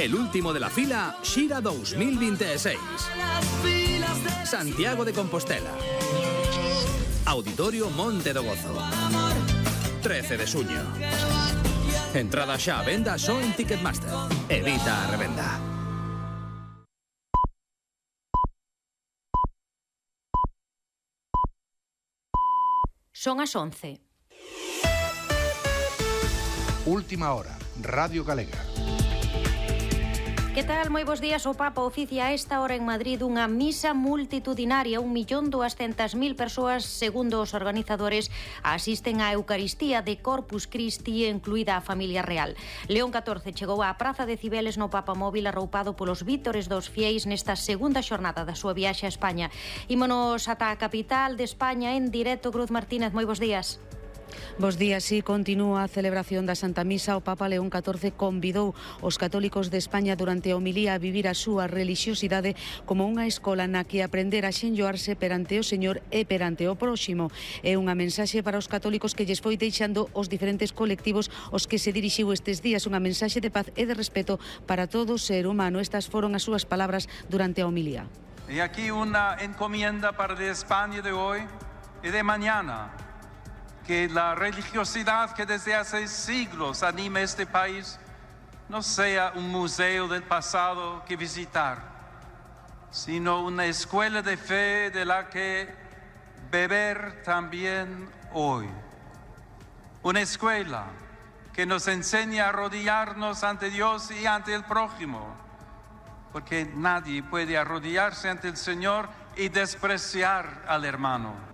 El último de la fila, Xira 2026. Santiago de Compostela. Auditorio Monte do Gozo. 13 de xuño. Entrada xa a venda só en Ticketmaster. Evita a revenda. Son as 11. Última hora, Radio Galega. Que tal? Moi bos días. O Papa oficia a esta hora en Madrid unha misa multitudinaria. 1.200.000 persoas, segundo os organizadores, asisten á Eucaristía de Corpus Christi, incluída a familia real. León XIV chegou á Praza de Cibeles no Papamóvil arroupado polos vítores dos fieis nesta segunda xornada da súa viaxe a España. Ímonos ata a capital de España en directo. Cruz Martínez, moi bos días. Bos días, sí, continúa a celebración da Santa Misa. O Papa León XIV convidou os católicos de España durante a homilía a vivir a súa relixiosidade como unha escola na que aprender a xenlloarse perante o Señor e perante o próximo. É unha mensaxe para os católicos que lles foi deixando os diferentes colectivos aos que se dirixiu estes días, unha mensaxe de paz e de respeto para todo ser humano. Estas foron as súas palabras durante a homilía. E aquí unha encomienda para de España de hoy e de mañana. Que la religiosidad que desde hace siglos anima este país no sea un museo del pasado que visitar, sino una escuela de fe de la que beber también hoy. Una escuela que nos enseña a arrodillarnos ante Dios y ante el prójimo, porque nadie puede arrodillarse ante el Señor y despreciar al hermano.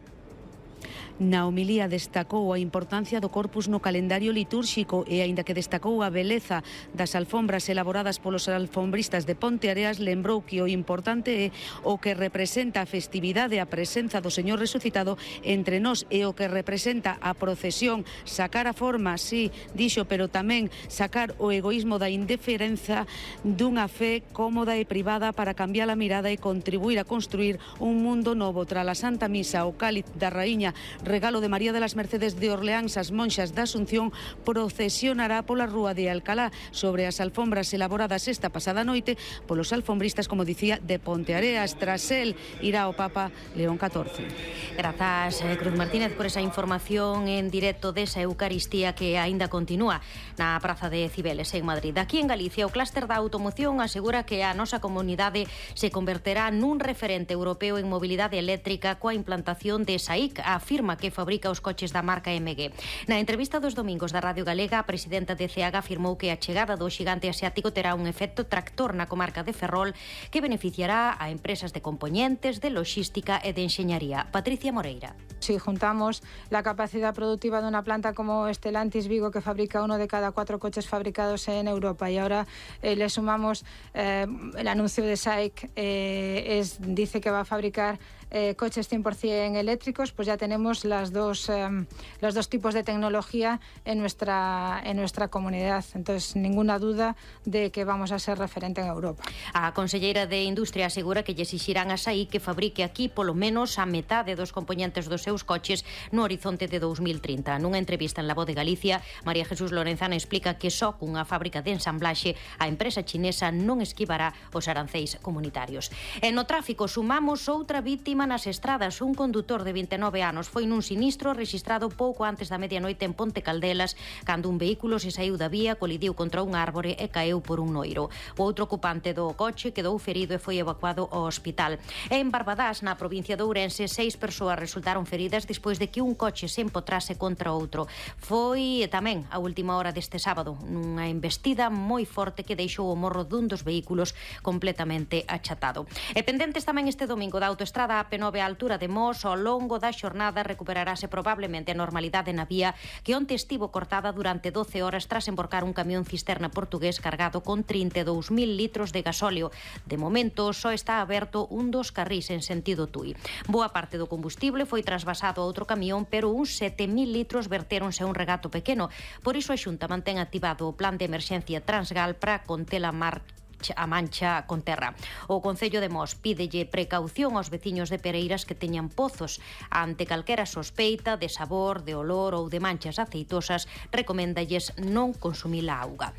Na homilía destacou a importancia do corpus no calendario litúrxico e, aínda que destacou a beleza das alfombras elaboradas polos alfombristas de Ponteareas, lembrou que o importante é o que representa a festividade, a presenza do Señor resucitado entre nós, e o que representa a procesión, sacar a forma, sí, dixo, pero tamén sacar o egoísmo da indiferenza dunha fe cómoda e privada para cambiar a mirada e contribuir a construir un mundo novo. Tras a Santa Misa, o cáliz da Raíña, regalo de María de las Mercedes de Orleáns, as monxas da Asunción procesionará pola rúa de Alcalá sobre as alfombras elaboradas esta pasada noite polos alfombristas, como dicía, de Ponteareas. Tras el irá o Papa León XIV. Grazas, Cruz Martínez, por esa información en directo desa Eucaristía que aínda continúa na Praza de Cibeles en Madrid. Aquí en Galicia, o clúster da automoción asegura que a nosa comunidade se converterá nun referente europeo en mobilidade eléctrica coa implantación de SAIC, afirma que fabrica os coches da marca MG. Na entrevista dos domingos da Radio Galega, a presidenta de CEAG afirmou que a chegada do xigante asiático terá un efecto tractor na comarca de Ferrol que beneficiará a empresas de componentes, de logística e de enxeñaría. Patricia Moreira. Si juntamos la capacidad productiva de una planta como Stellantis Vigo, que fabrica 1 de cada 4 coches fabricados en Europa, y ahora le sumamos el anuncio de SAIC, dice que va a fabricar coches 100% eléctricos, pues ya tenemos los dos tipos de tecnología en nuestra comunidad. Entonces, ninguna duda de que vamos a ser referente en Europa. A conselleira de Industria asegura que lle exixirán a SAIC que fabrique aquí polo menos a metade dos componentes dos seus coches no horizonte de 2030. Nunha entrevista en La Voz de Galicia, María Jesús Lorenzana explica que só cunha fábrica de ensamblaxe a empresa chinesa non esquivará os aranceis comunitarios. E no tráfico sumamos outra vítima nas estradas. Un condutor de 29 anos foi nun sinistro rexistrado pouco antes da medianoite en Ponte Caldelas, cando un vehículo se saiu da vía, colidiu contra un árbore e caeu por un noiro. O outro ocupante do coche quedou ferido e foi evacuado ao hospital. E en Barbadás, na provincia de Ourense, 6 persoas resultaron feridas despois de que un coche se empotrase contra outro. Foi tamén a última hora deste sábado, nunha embestida moi forte que deixou o morro dun dos vehículos completamente achatado. E pendentes tamén este domingo da autoestrada AP9 á altura de Mos, ao longo da xornada recuperarase probablemente a normalidade na vía que onte estivo cortada durante 12 horas tras emborcar un camión cisterna portugués cargado con 32.000 litros de gasóleo. De momento, só está aberto un dos carrís en sentido Tui. Boa parte do combustible foi trasvasado a outro camión, pero uns 7.000 litros vertéronse a un regato pequeno. Por iso a Xunta mantén activado o plan de emerxencia Transgal para conter a mancha con terra. O Concello de Mos pídelle precaución aos veciños de Pereiras que teñan pozos. Ante calquera sospeita de sabor, de olor ou de manchas aceitosas, recoméndalles non consumir a auga.